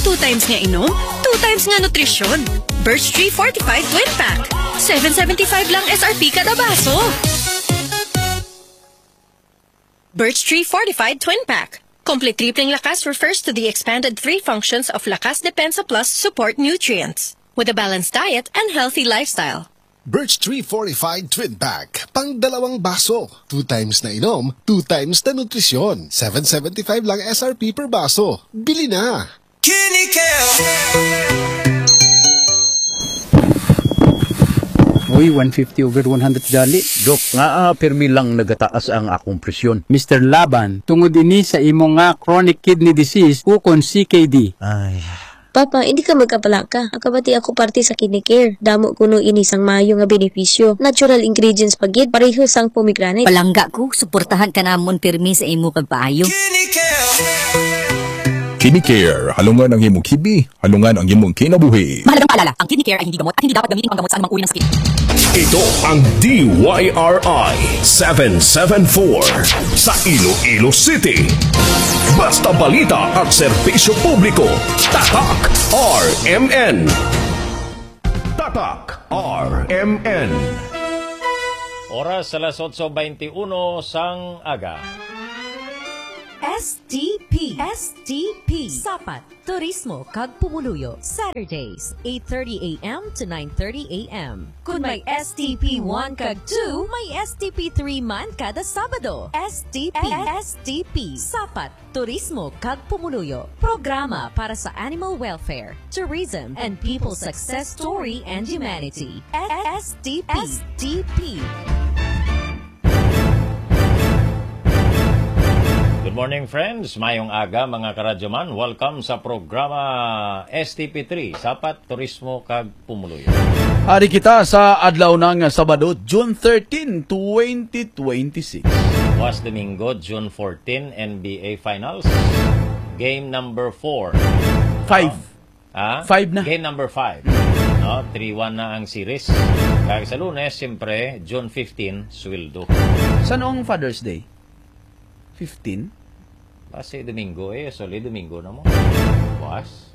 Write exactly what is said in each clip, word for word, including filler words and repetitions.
Two times nga inom, two times nga nutrisyon. Birch Tree Fortified Twin Pack. Seven seventy-five lang S R P kada baso. Birch Tree Fortified Twin Pack. Complete tripling lakas refers to the expanded three functions of Lakas Depensa Plus support nutrients. With a balanced diet and healthy lifestyle. Birch Tree Fortified Twin Pack. Pang dalawang baso. Two times na inom, two times na nutrisyon. Seven seventy-five lang S R P per baso. Bili na! Kinikeo. Uy, one fifty over one hundred gali. Dok, nga, ah, pirmi lang nagataas ang akong presyon. Mister Laban, tungod ini sa imo nga chronic kidney disease ukon C K D. Ay. Papa, hindi ka magkapalaka. Akabati ako parte sa Kinikare. Damo kuno ini sang maayo nga benepisyo. Natural ingredients pa gid, pareho sang pomegranate. Palangga ko, suportahan ka namon pirmi sa imo pagpaayo. Kinikare. Kinikare, halungan ang imong kibi, halungan ang imong kinabuhi. Mahalagang paalala, ang Kidney Care ay hindi gamot at hindi dapat gamitin panggamot sa anumang uri ng sakit. Ito ang D Y R I seven seven four sa Iloilo City. Basta balita at serbisyo publiko, Tatak R M N. Tatak R M N. Oras alas otso beintiuno sang aga. S T P. S T P. Sapat. Turismo kag Pumuluyo, Saturdays, eight thirty a m to nine thirty a m. Kung may S T P one kag two, may S T P three man kada Sabado. S T P, S T P, Sapat, Turismo kag Pumuluyo, programa para sa animal welfare, tourism, and people success story and humanity. S T P. S T P. Good morning, friends. Mayong aga, mga karadyoman. Welcome sa programa S T P three, Sapat, Turismo, kag Pumuluyo. Ari kita sa adlaw na nga Sabado, June thirteen, twenty twenty-six. Buwas Domingo, June fourteen, N B A Finals. Game number four. Five. Ah? Five na. Game number five. No? Three one na ang series. Kag sa Lunes, siyempre, June fifteen, sweldo. San-o ang Father's Day? Fifteen? Basi Domingo eh. Suli Domingo na mo. Buwas.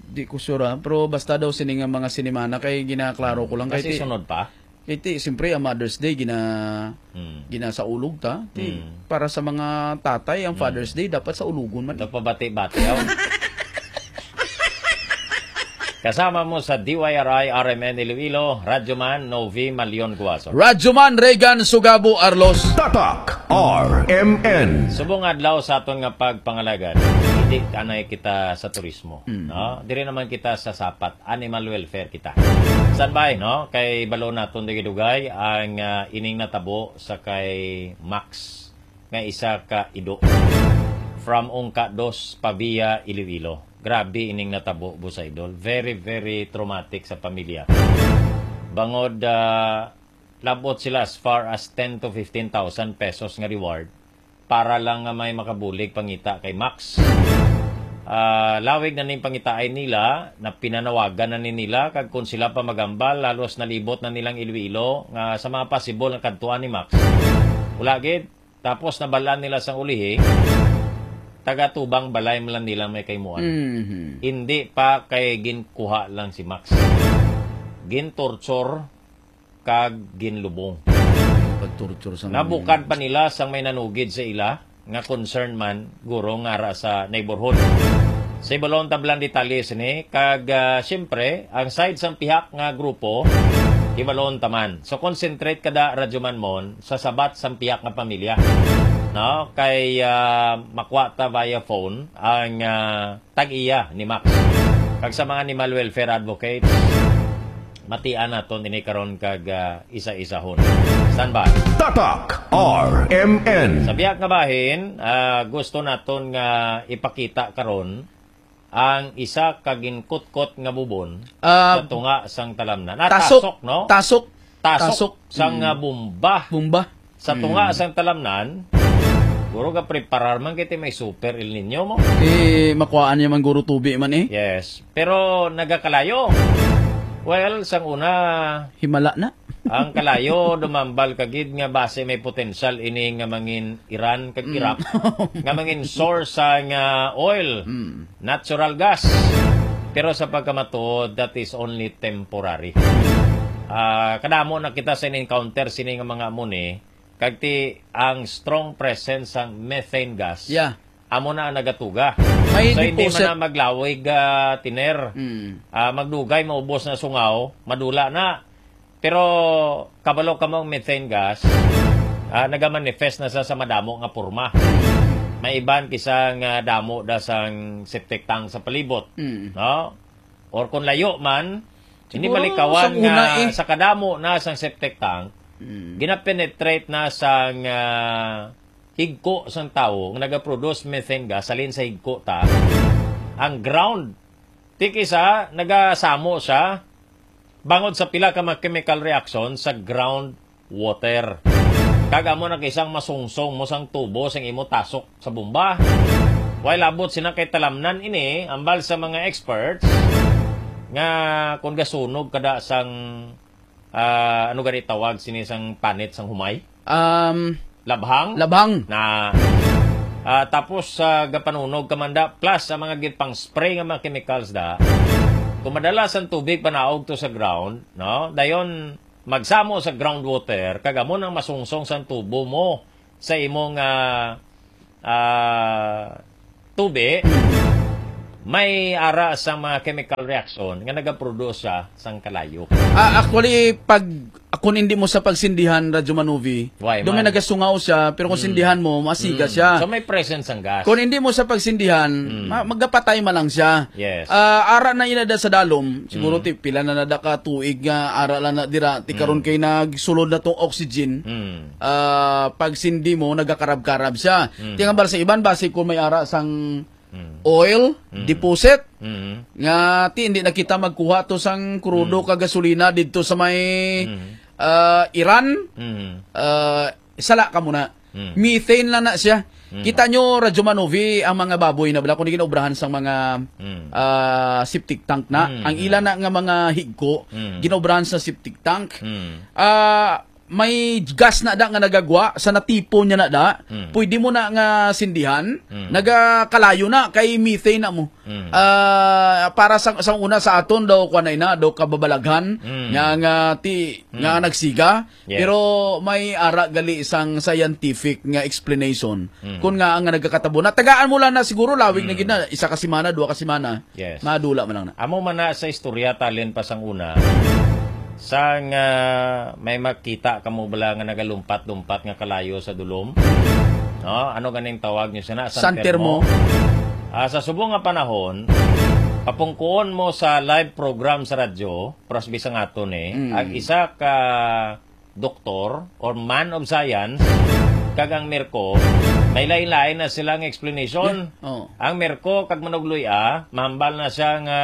Di ko sure, ah. Pero basta daw sini nga mga sinimana kay ginaklaro ko lang. Kay Basi ti-, sunod pa? Kay ti, siyempre, ang Mother's Day, gina-, Hmm. ginasaulog ta. Ti, Hmm. para sa mga tatay, ang Hmm. Father's Day, dapat sa ulugon man. Nagpabati-bati, oh. Kasama mo sa D Y R I R M N Iloilo, Radyo Man Novi Malion Guaso. Radyo Man Reagan Sugabo Arlos. Tatak R M N. Subong adlaw sa aton nga pagpangalagad, hindi anay kita sa turismo, Mm. no? Diri naman kita sa Sapat, animal welfare kita. Standby, no? Kay balo naton dugay-dugay ang, ah, ining natabo sa kay Max nga isa ka ido from Ungka Dos, Pavia, Iloilo. Grabe ining natabo, Boss Idol. Very, very traumatic sa pamilya. Bangod, ah, labot sila as far as ten to fifteen thousand pesos nga reward para lang nga may makabulig pangita kay Max. Ah, lawig na ning pangitaay nila, na pinanawagan na ni nila, kag kung sila pa magambal, halos nalibot na nilang Iloilo nga sa mga possible nga kadtuan ni Max. Wala gid, tapos nabalaan nila sang ulihi, taga tubang balay man lang nila may kaimuan. Mhm. Hindi pa kay ginkuha lang si Max. Gintorture kag ginlubong. Pagtorture sa mga Nabukad pa nila sang may nanugid sa ila nga concern man, guro, nga ara sa neighborhood. Sa ibalon tablang detalye sini, kag, ah, siyempre, ang side sang pihak nga grupo, ibalon taman. So, concentrate kada Radyo Man Mon sa sabat sang pihak nga pamilya. No? Kay, ah, makuha ta via phone ang, ah, tag-iya ni Max. Kag sa mga animal welfare advocates, matian naton ini karon kag, ah, isa-isahon. Standby. Tatak R M N. Sa biyak nga bahin, ah, gusto naton nga ipakita karon ang isa ka ginkutkot nga bubon Ah, sa tunga sang talamnan. Ah, tasok. Tasok, no? Tasok. Tasok. Tasok sang, Mm. ah, bomba. Bomba. Sa tunga Mm. sang talamnan, guro, ga preparar man kay ti may super El Nino mo. Eh, makuhaan niya man guro tubi man eh. Yes. Pero nagakalayo. Well, sang una, Himala na. Ang kalayo, dumambal ka gid nga basi may potensyal ini nga mangin Iran kag Mm. Iraq, nga mangin source sa nga oil, Mm. natural gas. Pero sa pagkamatuod, that is only temporary. Ah, kadamo na kita sa encounter sini nga mga amo ni, kag ti ang strong presence sang methane gas, Yeah. amo na ang nagatuga. May So, hindi deposit. man na maglawig, ah, tiner. Mm. Ah, magdugay, maubos na sungaw, madula na. Pero kabalo ka mo ang methane gas, ah, nagamanifest na sa, sa madamo nga porma. May iban kisa nga damo da sang septic tank sa palibot, Mm. no? Or kung layo man, hindi Siguro malikawan sa una nga eh. sa kadamo na sang septic tank, Mm. ginapenetrate na sang, ah, higko sang tawo nga nagaproduce methane gas, halin sa higko ta, ang ground. Ti kisa, nagasamo siya bangod sa pila ka mga chemical reaction sa ground water. Kag amo na kisang masungsong mo sang tubo sang imo tasok sa bomba. Way labot sina kay talamnan ini, ambal sa mga experts, nga kung gasunog kada sang, ah, ano gani tawag sini sang panit sang humay? Um, Labhang? labhang. Na, ah, tapos, ah, gapanunog ka man da, plus ang mga gid pang spray nga mga chemicals da. Kung madala sang tubig panaog to sa ground, no? Dayon, magsamo sa groundwater, kag amo nang masungsong sang tubo mo sa imong, ah, ah, tubi, may ara sa mga chemical reaction nga nagaproduce siya sang kalayo. Ah, actually, pag, kung hindi mo sa pagsindihan, Radyo Manuvi, Why doon may man? nagasungaw siya, pero kung Mm. sindihan mo, masiga Mm. siya. So, may presence ang gas. Kung hindi mo sa pagsindihan, Mm. ma-, magapatay man lang siya. Yes. Ah, ara na ina da sa dalom, siguro Mm. ti pila na nada ka tuig nga ara lang na dira, ti karon Mm. kay nagsulod na tong oxygen. Mm. Ah, pag sindi mo, nagakarab-karab siya. Mm. Ti ang ambal sa iban, basi kung may ara sang Mm. oil, Mm. deposit, Mm. nga ti hindi na kita magkuha to sang krudo Mm. ka gasolina didto sa may, Mm. ah, Iran, Mm. ah, sala ka muna. Mm. Methane lang na siya. Mm. Kita nyo, Radyo Manovi, ang mga baboy na bala, kung di ginaobrahan sang mga, Mm. ah, septic tank na. Mm, Ang mm. ila na nga mga higko, Mm. ginaobrahan sa septic tank. Mm. Ah, may gas na da nga nagagwa, sa natipon niya na da, Mm. pwede mo na nga sindihan, Mm. nagakalayo na, kay methane na mo. Mm. Ah, para sa, sa una sa aton daw, kuwan na ina, daw kababalaghan, Mm. nga, nga ti, Mm. nga nagsiga, Yes. Pero may ara gali sang scientific nga explanation. Mm. Kung nga ang nagakatabo na, tagaan mo lang na siguro, lawig na Mm. gid na, isa ka semana, dua ka semana, Yes. madula man lang na. Amo man na sa istorya, talin pa sang una, sang, ah, may makita kamo bala nga nagalumpat-lumpat nga kalayo sa dulom? No? Ano ganing tawag nyo sana? San San Telmo? Telmo. Ah, sa subong nga panahon, papungkuon mo sa live program sa radyo, pras bisang aton eh, Mm. ang isa ka doktor or man of science, kag ang Merco, may lain-lain na silang explanation. Yeah. Oh. Ang Merco kag Manugloy-a, mahambal na siya nga,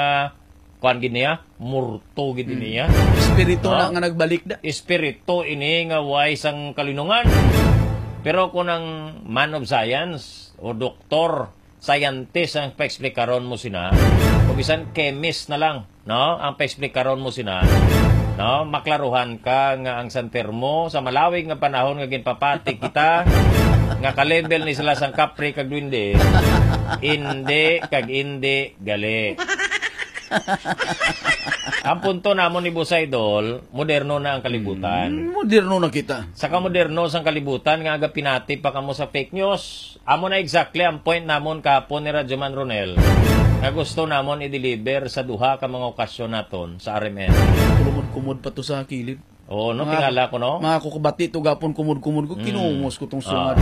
kuwan gid niya, murto gid Mm. niya. Espiritu No? na nga nagbalik da. Espiritu ini nga way sang kalinungan. Pero kung ang man of science o doktor, scientist ang paexplikaron mo sina, o bisan chemist na lang, no? Ang paexplikaron mo sina, no? Maklaruhan ka nga ang San Telmo sa malawig nga panahon nga ginpapati kita, nga ka-level ni sila sang kapre kag duwende, indi kag indi gali. Ang punto namon ni Boss Idol, moderno na ang kalibutan. Mm, moderno na kita. Sa kamoderno sang kalibutan nga agapinati pa kamo sa fake news. Amo na exactly ang point namon kahapon ni Radyo Man Ronel, nga gusto namon i-deliver sa duha ka mga okasyon naton sa R M N. Kumod-kumod pa to sa kilid. Oo, no, Mga tingala ko, no? Mga kukubati to gapon, kumod-kumod ko, Mm. kinumos ko tong Ah. sungad.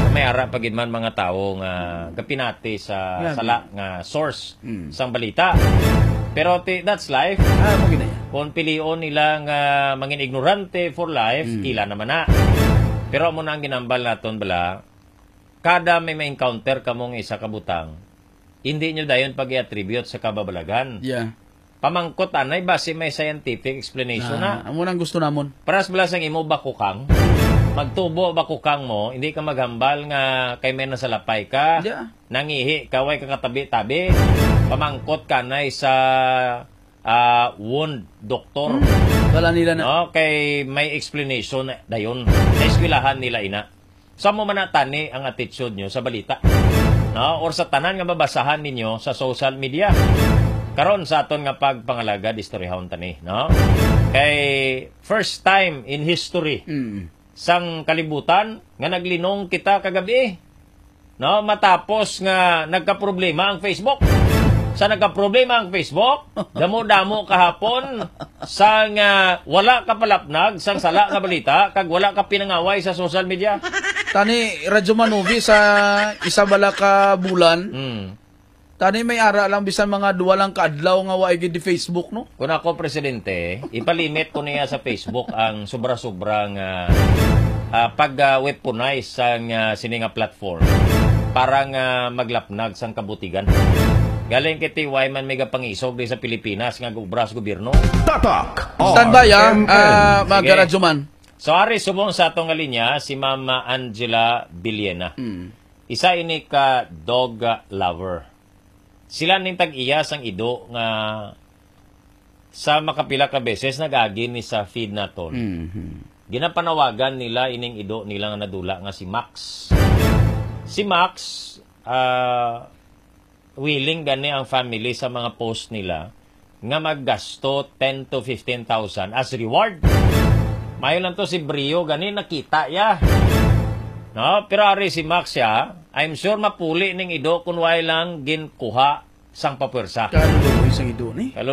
May ara pa gid man mga tawo nga gapinati sa Grabe. sala nga source Mm. sang balita. Pero ti-, that's life. Ah, mo ginaya. Kung pilion nila nga mangin ignorante for life, Mm. ila naman na. Pero amo na ang ginambal naton bala, kada may ma-encounter kamo nga isa ka butang, hindi nyo dayon pag-i-attribute sa kababalaghan. Yeah. Pamangkot anay, basi may scientific explanation Ah, na. amo nang gusto namon. Paras bala sang imo bakukang. Magtubo bakukang mo, hindi ka maghambal nga kay may nasalapay ka, Yeah. nangihi ka, way ka katabi-tabi. Pamangkot ka anay sa, ah, wound doctor. Hmm. Wala nila na. No, kay may explanation dayon. Naeskwelahan nila ina. Sa mo man na tani ang attitude nyo sa balita, no? Or sa tanan nga mabasahan ninyo sa social media. Karon sa aton nga pagpangalagad, istoryahon tani, no? Kay first time in history Mm. sang kalibutan nga naglinong kita kagabi. No, matapos nga nagkaproblema ang Facebook. Sa nagkaproblema ang Facebook, damo-damo kahapon sang, ah, wala ka palapnag sang sala nga balita kag wala ka pinangaway sa social media. Tani, Radyo Manovi, sa isa bala ka bulan, Hmm. tani may ara lang bisan mga duwa lang ka adlaw nga wa gid di Facebook, no? Kung ako, Presidente, ipalimit ko niya sa Facebook ang sobra-sobra nga, ah, pag-weaponize sang, ah, sini nga platform para nga maglapnag sang kabutigan. Galing kay T Y man may gapangisog di sa Pilipinas nga gubra sa gobyerno. Tatak Standby, ah, R M N. Ah, mga Sige. Karadyoman. So, ari subong sa atong nga linya, si Mama Angela Villena. Mm. Isa ini ka dog, ah, lover. Sila ning tag-iya sang ido nga sa makapila ka beses nag-agi ni sa feed naton. Mhm. Ginapanawagan nila ining ido nila nga nadula nga si Max. Si Max, ah, willing gani ang family sa mga post nila nga maggasto ten to fifteen thousand as reward. Mayo lang to si Brio gani nakita ya. No, pero ari si Max ya, I'm sure mapuli ning ido kun way lang ginkuha sang papwersa. Kaluluoy sang ido ni.